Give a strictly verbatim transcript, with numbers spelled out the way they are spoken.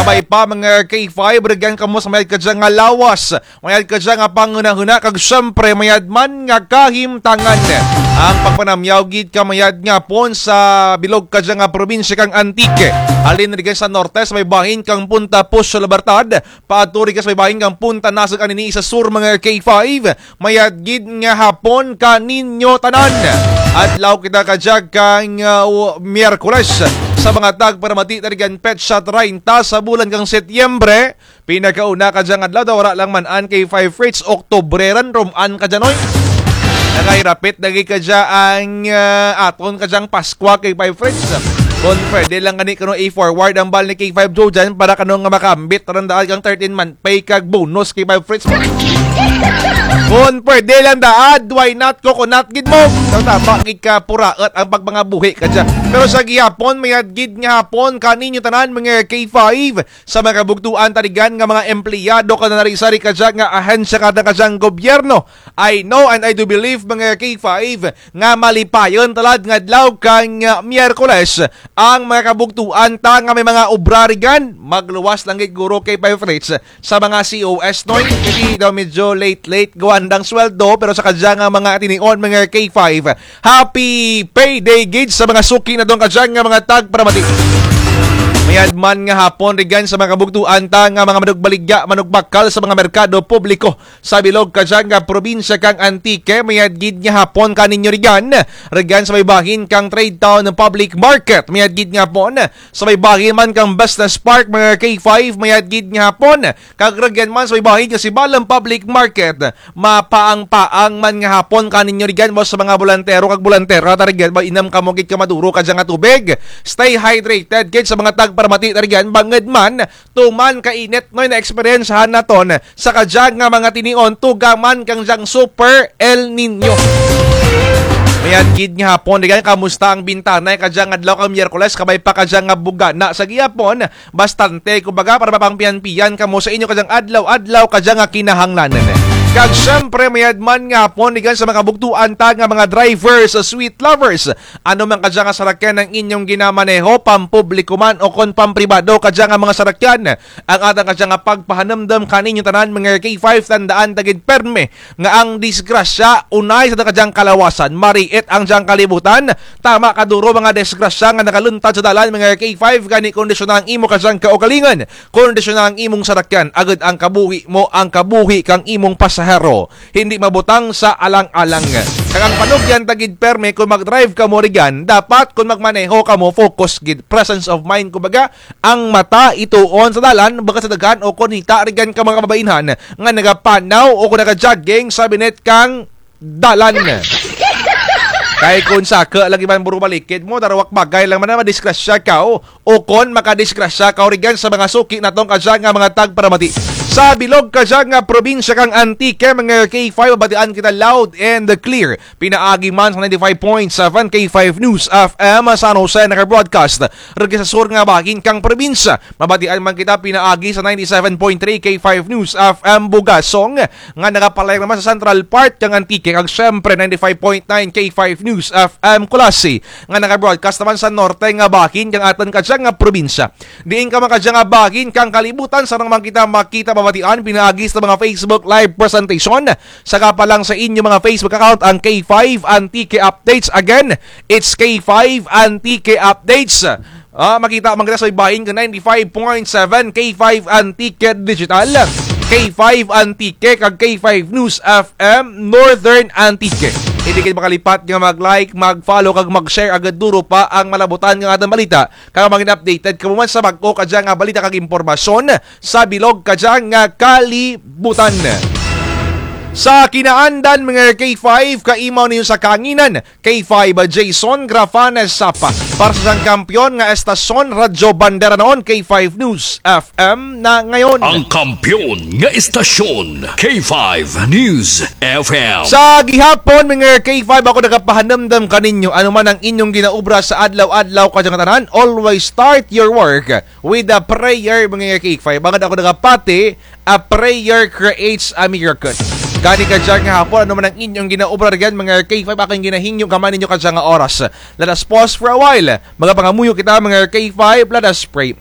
Kabay pa, mga K five, rugyan kamo sa mayad kadya nga lawas, mayad kadya nga panghunahuna, kag syempre, mayad man nga kahimtangan. Ang pagpanamyaw gid ka mayad nga hapon sa bilog kadya nga probinsya kang Antique. Halin rugyan sa norte, sa may bahin kang Punta Puso Libertad, paadto rugyan sa may bahin kang Punta Nasug anini sa sur, mga K five. Mayad gid nga hapon kaninyo tanan. Adlaw kita kadya kang, ah, u-, Miyerkules. Sa mga tagparamati, ta rugyan petsa treinta sa bulan kang Setyembre. Pinakauna kadya nga adlaw, daw wara lang man-an, K five Fritz, Oktubre ran, rum-an kadya, noy. Nakahirapit lagi kadya ang, ah, aton kadyang Paskwa, K five Fritz. Kon pwede lang gani kano i-forward ang bal ni K five Jojan para kano nga makaambit ran daad kang thirteen month pay kag bonus, K five Fritz. Kon pwede lang daad, why not, coconut gid mo. Daw tama gid ka puraot ang pagpangabuhi kadya. Pero sa gihapon, mayad gid nga hapon kaninyo tanan, mga K five, sa mga kabugtuan ta rugyan nga mga empleyado kag sari-sari kadya nga ahensya kang kadyang gobyerno. I know and I do believe, mga K five, nga malipayon ta lad nga adlaw kang, ah, Miyerkules ang mga kabugtuan ta nga may mga obra rugyan. Magluwas lang gid guro, K five Fritz, sa mga C O S, noy. Kay daw medyo late-late gawa andang sweldo, pero sa kadya nga mga tinion, mga K five, happy payday gid sa mga suki naton kadya nga mga tagparamati. Mayad man nga hapon rugyan sa mga kabugtuan ta nga mga manugbaligya, manugbakal sa mga merkado publiko sa bilog kadya nga probinsya kang Antique, mayad gid nga hapon kaninyo rugyan. Rugyan sa may bahin kang Trade Town Public Market, mayad gid nga hapon. Sa may bahin man kang Business Park, mga K five, mayad gid nga hapon. Kag rugyan man sa may bahin kang Sibalom Public Market, mapaang-paang man nga hapon kaninyo rugyan, mo sa mga bolantero kag bolantera ta rugyan, mainom kamo gid ka maduro kadya nga tubig. Stay hydrated gid sa mga tagparamati ta rugyan, bangud man tuman ka init, noy, na eksperyensyahan naton sa kadya nga mga tinion, tuga man kang dyang Super El Niño. Mayad gid nga hapon rugyan, kamusta ang bintanay kadya nga adlaw kang Miyerkules, kabay pa kadya nga bugana sa gihapon, bastante, kumbaga, para mapangpiyan-piyan kamo sa inyo kadyang adlaw-adlaw kadya nga kinahanglanan. Kag syempre, mayad man nga hapon rugyan sa mga kabugtuan ta nga mga drivers, sweet lovers. Ano man kadya nga sarakyan ang inyong ginamaneho, pampubliko man o kon pampribado kadya nga mga sarakyan, ang atun kadya nga pagpahanumdum kaninyo tanan, mga K five, tandaan ta gid pirme nga ang disgrasya unay sa atun kadyang kalawasan, mariit ang dyang kalibutan. Tama kaduro mga disgrasya nga nagaluntad sa dalan, mga K five, gani kondisyona ang imo kadyang kaugalingon, kondisyona ang imong sarakyan, agud ang kabuhi mo, ang kabuhi kang imong pasahero, hindi mabutang sa alang-alang. Kag ang panugyan ta gid pirme, kon mag-drive kamo rugyan, dapat kon magmaneho kamo, focus gid, presence of mind, kumbaga, ang mata ituon sa dalan, baga sa daghan o kon hita rugyan ka mga kababainhan nga nagapanaw o kon naga-jogging sa binit kang dalan. Kay kon saka lagi man buro balikid mo, darawak bagay lang man na madisgrasya kaw, o kon makadisgrasya kaw rugyan sa mga suki naton kadya nga mga tagparamati. Sa bilog kadya nga probinsya kang Antique, mga K five, mabatian kita loud and clear. Pinaagi man sa ninety-five point seven K five News F M San Jose, naka-broadcast rugya sa sur nga bahin kang probinsya. Mabatian man kita pinaagi sa ninety-seven point three K five News F M Bugasong, nga nagapalayag naman sa central part kang Antique, kag syempre ninety-five point nine K five News F M Culasi, nga naka-broadcast naman sa norte nga bahin kang atun kadya nga probinsya. Diin ka man kadya nga bahin kang kalibutan, sarang man kita makita, mabatian pinaagi sa mga Facebook Live presentation. Saka pa lang sa inyo mga Facebook account ang K five Antique Updates. Again, it's K five Antique Updates. Ah, makita man kita sa bahin kang ninety-five point seven K five Antique Digital, K five Antique, kag K five News F M Northern Antique. Hindi kayo makalipat nga mag-like, mag-follow, kag mag-share, agud duro pa ang malabutan nga atun balita. Kag mangin updated kamo man sa bag-o kadya nga balita kag impormasyon sa bilog kadya nga kalibutan. Sa kinaandan, mga K five, kaimaw ninyo sa kanginan, K five Jason Grafanes Sapa. Para sa sang kampiyon nga estasyon, Radyo Bandera noon, K five News F M na ngayon. Ang kampiyon nga estasyon, K five News F M. Sa gihapon, mga K five, ako nagapahanumdum kaninyo, ano man ang inyong ginaobra sa adlaw-adlaw kadya nga tanan, always start your work with a prayer, mga K five. Bangud ako nagapati, a prayer creates a miracle. Gani kadya nga hapon, ano man ang inyong ginaobra rugyan, mga K five, akun ginahingyo, gamay ninyo kadya nga oras. Let us pause for a while. Magapangamuyo kita, mga K five, let us pray.